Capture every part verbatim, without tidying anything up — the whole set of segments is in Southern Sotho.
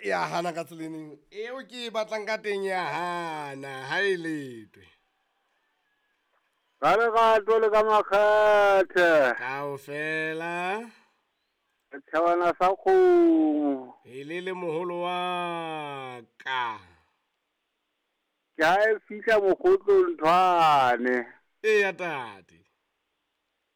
Ya hana ka tseleneng eo ke e batlang ka teng, ya hana ha e letwe. Ka lerato le ka makgethe. Kaofela. Thabana sa kgomo. E le le moholo wa ka. Ke ha e fihla mokgotlong nthwane. Eya tate.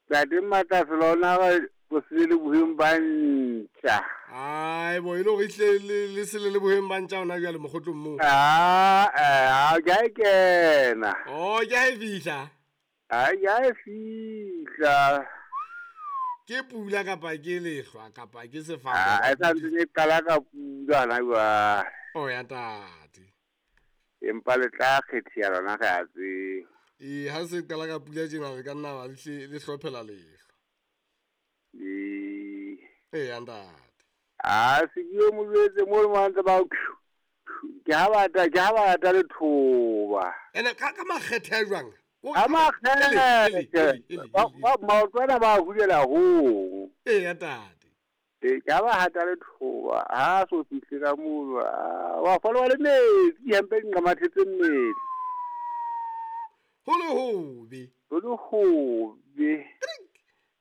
Tate Matlase lona re o se le boheng ba ntja. Ai bo, e le hore ehlile le, le se le le boheng ba ntja hona jwale mokgotlong moo. Ah, eh, ah, ke ha e kena. Oh, ke ha e fihla. Ah, ke ha e fihla. Ke pula kapa ke lehlwa kapa ke sefako? Ah, e sa ntse e qala ka pula hona jwale. Oh ya tate. Empa le tla kgethiya lona re a tseba. Ee, ha se qala ka pula tjena re ka nna ba le hle, le hlophela lehlwa. Ee. Ee, ya ntate. Ah, se ke yo mo jwetse mo le mo ntse ba ke ha bata, ke ha bata lethoba. Ene ka, ka makgethe a jwang? Ka makgethe. Ba, ba, maoto ana ba hulela hong. Ee, ya tate. Ee, ke ha ba hata lethoba, ha so fihle ka mono, ah, wa folwa le metsi, hempe di nqamathetse mmele. Ho le hobe. Ho le hobe.